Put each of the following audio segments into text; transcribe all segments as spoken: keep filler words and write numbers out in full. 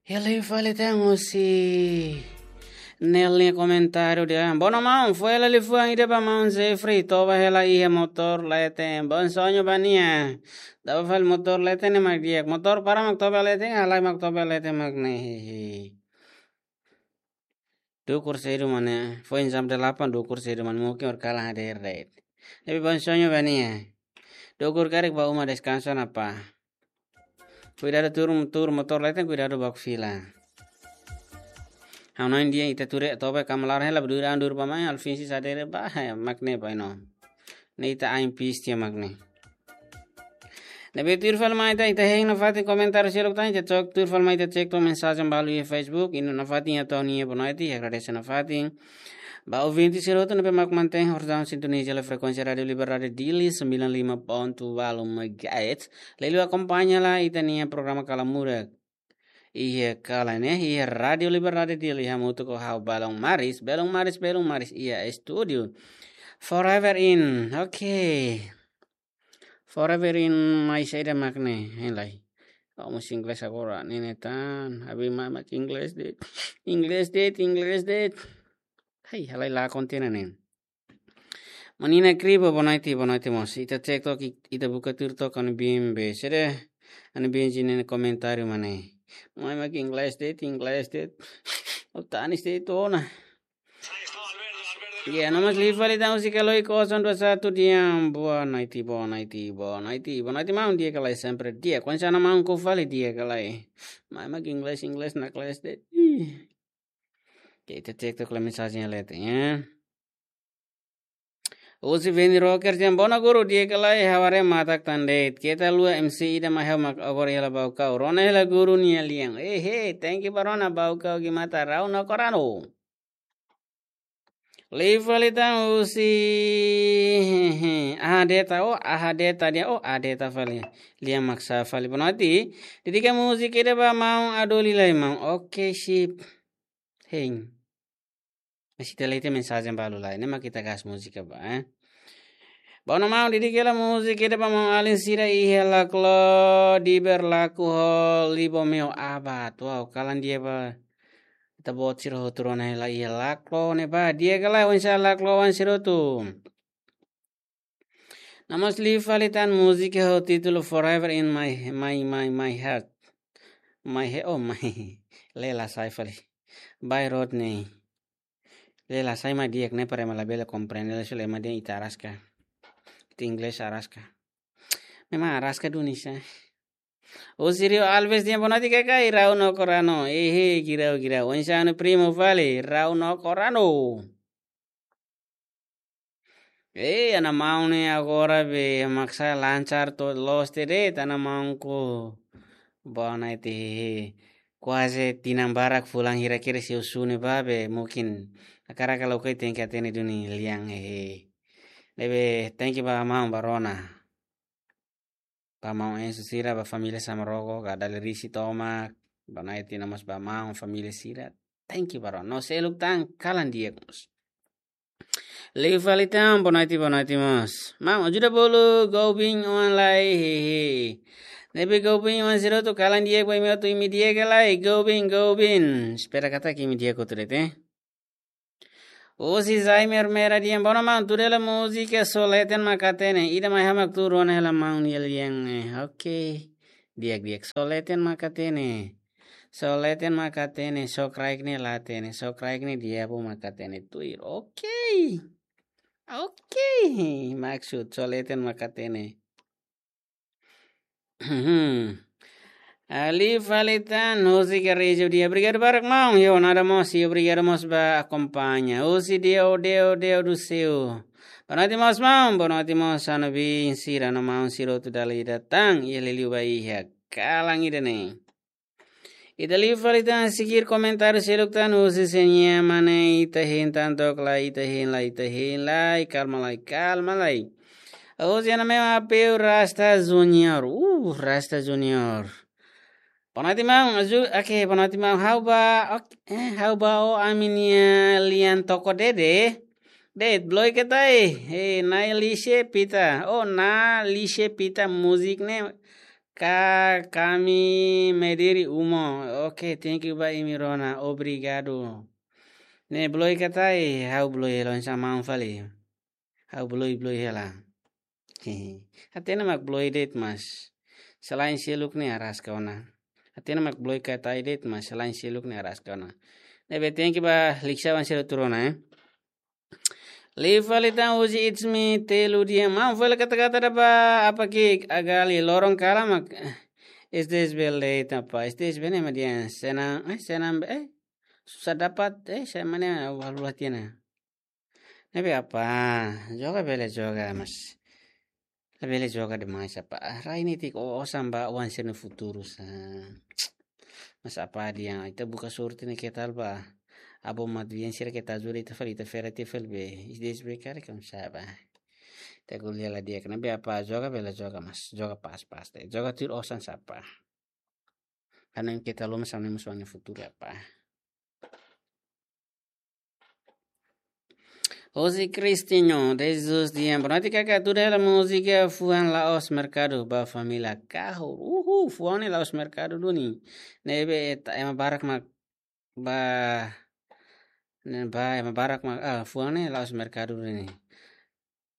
Hela fali tan husi Nel nia komentáriu dehan: Bona maun, fó hela liafuan ida ba maun Jeffrey, toba hela iha motór leten. Bom sonho ba nia. Toba fali motór leten ne'e mak di'ak. Motór para mak toba leten, halai mak toba leten mak ne'e. Dukur sedu mak ne'e. Foin jam delapan dukur sedu mak ne'e, mungkin ora kalan hadeer de'it. Tapi bom sonho ba nia. Dukur karik ba uma deskansa ona pá. Kuidadu tuur, tuur motór leten, kuidadu baku fila. Ha'u hanoin dehan ita tuur toba kamalar hela ba duur an duur ba mai, alfinsi sadere ba, he, mak ne'e ba ino. Ne'e ita ain pis tiha mak ne'e. Ne'ebé tuir fali mai ita, ita hein nafatin komentáriu seluk tan, ita cek tuir fali mai ita cek to'o mensajen balu iha Facebook, ita nafatin atu hanoin boa noite, agradese nafatin. Ba ouvinte sira hotu ne'ebé mak mantein horzaun sintoniza hela frekuénsia Rádiu Liberdade Dili sembilan lima ponto delapan megahertz. Liuliu akompaña hela ita-nia programa Kala Murak iha kalan ne'e, iha Rádiu Liberdade Dili, hamutuk ho ha'u Belun Maris, Belun Maris, Belun Maris iha estúdiu. Forever in, oke. Forever in mai saida mak ne'e, hein lai. Ha'u mós inglés agora, ne'e ne'e tan, abi mai mak inglés de'it. Inglés de'it, inglés de'it. Hai, halai la kontina ne'e. Menina Kribo, boa noite, boa noite mós. Ita cek to'o, ita buka tuir to'o ha'u-nia biin be. Sede, ha'u-nia biin sira-nia komentáriu mak ne'e. Mai mak inglés de'it, inglés de'it. Ha'u tanis de'it ona. Ya, no mós liu fali tan husi Kaloi kosong dua satu dehan: Boa noite, boa noite, boa noite, boa noite maun, di'ak ka lae? Sempre di'ak. Oinsá ona maun, koko fali di'ak ka lae? Mai mak inglés, inglés naklees de'it. Ih. Oke, ita cek to'o mensajen leten, ya. Husi Veni Rocker dehan: Bona guru, di'ak ka lae? Ha'u haree matak tan de'it. Keta haluha, M C ida mak ha'u mak agora hela Baucau. Rona hela guru nia lian. Eh, he, thank you ba rona, Baucau gimata rau no korano. Liu fali tan husi Ahadeta, oh, Ahadeta dehan, oh, Ahadeta fali. Lian mak sa'e fali. Boa noite. Dedika múzika ida ba maun Adoli lai maun. Oke, sip. Hein. Mas ita lee tiha mensajen balu lai, ne'e mak ita gas múzika ba, eh. Bona maun, dedika hela múzika ida ba maun-alin sira iha Laclo, Diber, Laku ho Libo Meo Abat. Wow, kalan di'ak ba ita-boot sira hotu rona hela iha Laclo ne'e ba. Di'ak ka lae, oinsá Laclo oan sira hotu? No mós liu fali tan múzika ho títulu Forever in My, My, My, My Heart. My he-, oh, my. Lee la sai fali. By Rodney. Lee la sai mak di'ak ne'e, para ema labele komprende, la sule ema dehan ita araska. Ita inglés araska. Memang araska duni sa. Husi Rio Alves dehan: Boa noite, Kakai, rau no korano. Ehe, girau, girau. Oinsá ha'u-nia primu fali, rau no korano. Eh, ha'u-nia maun ne'e agora be mak sa'e lancar to'o loos tiha de'it, ha'u-nia maun ko. Boa noite, hehe. Kuaze tinan barak fulan hira kira se usune ba be, mungkin hakarak ka lakohi tenke hatene duni lian, hehe. Ne'ebé, thank you ba maun ba rona. Ba maun Enzo sira, ba família Samaroko, ka Dali Risi tomak, ba Naiti, no mós ba maun família sira. Thank you ba rona. No seluk tan, kalan di'ak mós. Liu fali tan, boa noite, boa noite mós. Maun, ajuda bolu Gaubin oan lai, hehe. Ne'ebé Gaubin oan sira hotu, kalan di'ak ba imi hotu, imi di'ak ka lae? Gaubin, Gaubin. Espera katak imi di'ak hotu de'it, eh. Husi Zaimer Mera dehan: Bona maun, tuur hela múzika Só Leten Mak Hatene. Ida mai ha'u mak tuur ona hela maun nia lian, eh. Oke. Di'ak, di'ak. Só leten mak hatene. Só leten mak hatene, só kraik ne'e la hatene, só kraik ne'e diabu mak hatene tuir. Oke. Oke. Maksud só leten mak hatene. Liu fali tan, husi Garija dehan: Obrigadu barak maun, yo nada mós, i obrigadu mós ba akompaña. Husi Deo, Deo, Deo do Céu. Boa noite mós maun, boa noite mós ha'u-nia biin sira no maun sira hotu dala ida tan, i liuliu ba iha kalan ida-ne'e. Ita liu fali tan, seguir komentáriu seluk tan, husi Senia Mane, ita hein tan took lai, ita hein lai, ita hein lai, kalma lai, kalma lai. Husi Ana Meo Apeu Rasta Junior. Uh, Rasta Junior. Boa noite maun, azu, oke, boa noite maun. Ha'u ba, oke, eh, ha'u ba ó ami-nia lian toko dede. De'it, bloke tai. Eh, Nai Lise Pita. Oh, Na Lise Pita, múzika ne'e. Ka, kami Mediri Umo. Oke, thank you ba imi rona. Obrigadu. Ne'e bloe katak, ha'u bloe loos hanesan maun fali. Ha'u bloe, bloe hela. Hehe. Hatene mak bloe de'it mas. Selain seluk ne'e araska ona. Hatene mak bloe katak de'it mas selain seluk ne'e araska ona. Ne'ebé thank you ba liksawan sira tuur ona, eh. Liu fali tan husi It's Me Telu Dian. Maun fali kata-kata da ba apa ke agali loron kalan mak. Este es bel de tapa. Este es bene median. Senang, eh, senang, eh. Susah dapat, eh, saya mana walu latihan. Ne'ebé apa, joga bele joga, mas. Bele joga demais apa. Rai netik osan ba oan sira-nia futuru sa. Mas apa dehan, ita buka sorte ne'e ketal ba. Abo mat bien sira keta ajuda ita fali, ita fera ita fali be. Is des be kare kam saba. Ita kuliah la di'ak. Ne'ebé apa, joga bele joga, mas. Joga pas-pas. Joga tuir osan sapa. Karena keta loma sama musuh nia futuru apa. José Cristinho, Jesus Dian. Boa noite, kaka. Tuda hela múzika fuan la'ós merkadu ba família kahur. Uhu, fuan ne'e la'ós merkadu duni. Ne'ebé ta ema barak mak ba, ne'e ba ema barak mak, ah, fuan ne'e la'ós merkadu duni.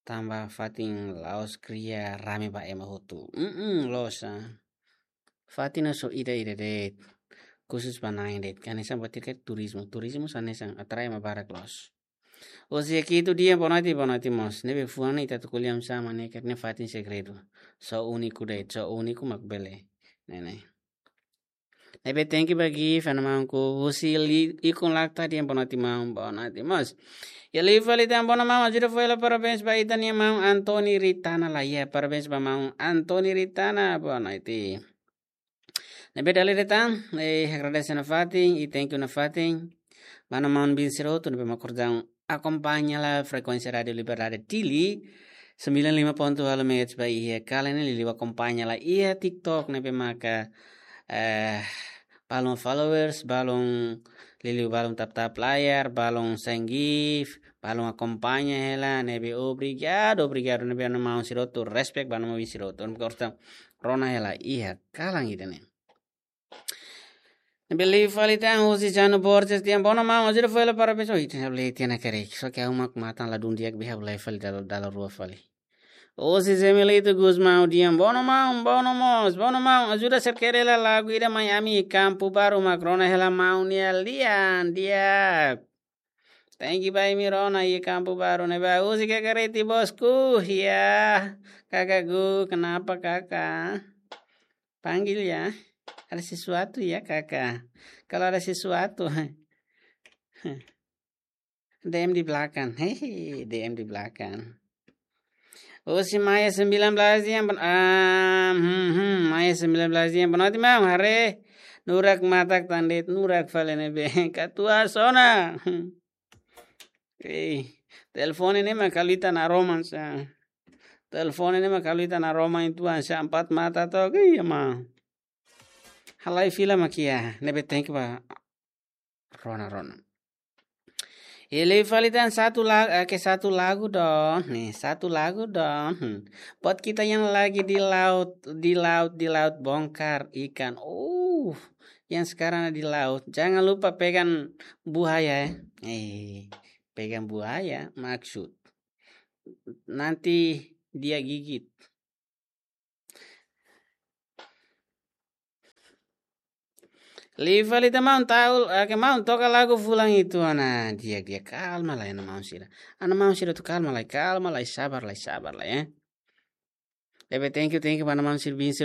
Tanba fatin la'ós kria rame ba ema hotu. Mm-mm, loos, ah. Fatin ne'e só ida-ida de'it. Khusus ba na'in de'it. Hanesan buat ida ke turizmu. Turizmu hanesan atrai ema barak loos. Osi aki itu dia boa noite, boa noite mós. Ne'ebé fuan ne'e ita atu ko'alia hanesan ne'e karena fatin segredu. Só úniku de'it, só úniku mak bele. Ne'e ne'e. Ne'ebé thank you ba gift, ana maun ku husi li ikun lakta dia boa noite maun, boa noite mós. Ya liu fali tan boa noite maun, ajuda fali parabéns ba ita-nia maun Antoni Ritana la ya, parabéns ba maun Antoni Ritana, boa noite. Ne'ebé dala ida tan, eh, agradese nafatin, i thank you nafatin. Ba maun-alin sira hotu, ne'ebé mak kordang akompaña hela frekuénsia Rádiu Liberdade Dili, sembilan lima ponto delapan megahertz ba iha kalan ne'e, liuliu akompaña hela iha TikTok ne'ebé maka, eh, balun followers, balun liuliu balun tap-tap layar, balun send gift, balun akompaña hela, ne'ebé obrigadu, obrigadu, ne'ebé maun sira hotu, respect ba maun-alin sira hotu, ne'ebé kordang rona hela iha kalan ida-ne'e. Ne'ebé liu fali tan husi Jano Borges dia boa noite maun, ajuda fali parabéns. Oh, ita bele tiana kare. Só ke ha'u mak matan ladún di'ak be ha'u lai fali dala, dala rua fali. Husi Zemelito Gusmão dia boa noite maun, boa noite mós, boa noite maun, ajuda serkere hela lagu ida mai ami Kampu Baru mak rona hela maun nia lian di'ak. Thank you ba imi rona iha Kampu Baru ne'ebá. Husi kaka Reti bosku, ya. Kaka Gu, kenapa kaka? Panggil ya. Ada sesuatu ya kaka. Kalau ada sesuatu, D M di belakang. Hehe, D M di belakang. Husi Maya sembilan belas dia, ah, hmm, hmm, Maya sembilan belas dia, boa noite maun, haree nurak matak tan de'it, nurak fali ne'ebé. Katuas ona. Eh, telefone ne'e mak halo ita naroman sa. Telefone ne'e mak halo ita naroman itu sa, empat mata took, iya maun. Halai fila mak iha, ne'ebé thank you ba rona, rona. Liu fali tan satu la-, eh, ke satu lagu dong, nih, satu lagu dong. Hmm. Buat kita yang lagi di laut, di laut, di laut bongkar ikan. Uh, yang sekarang di laut. Jangan lupa pegang buaya, eh. Eh, pegang buaya, maksud. Nanti dia gigit. Liu fali tan maun, tau, ah, ke maun toka lagu fulan itu, ana di'ak, di'ak, kalma lai ana maun sira. Ana maun sira atu kalma lai, kalma lai, sabar lai, sabar lai, eh. Ne'ebé thank you, thank you ba ana maun sira bin sira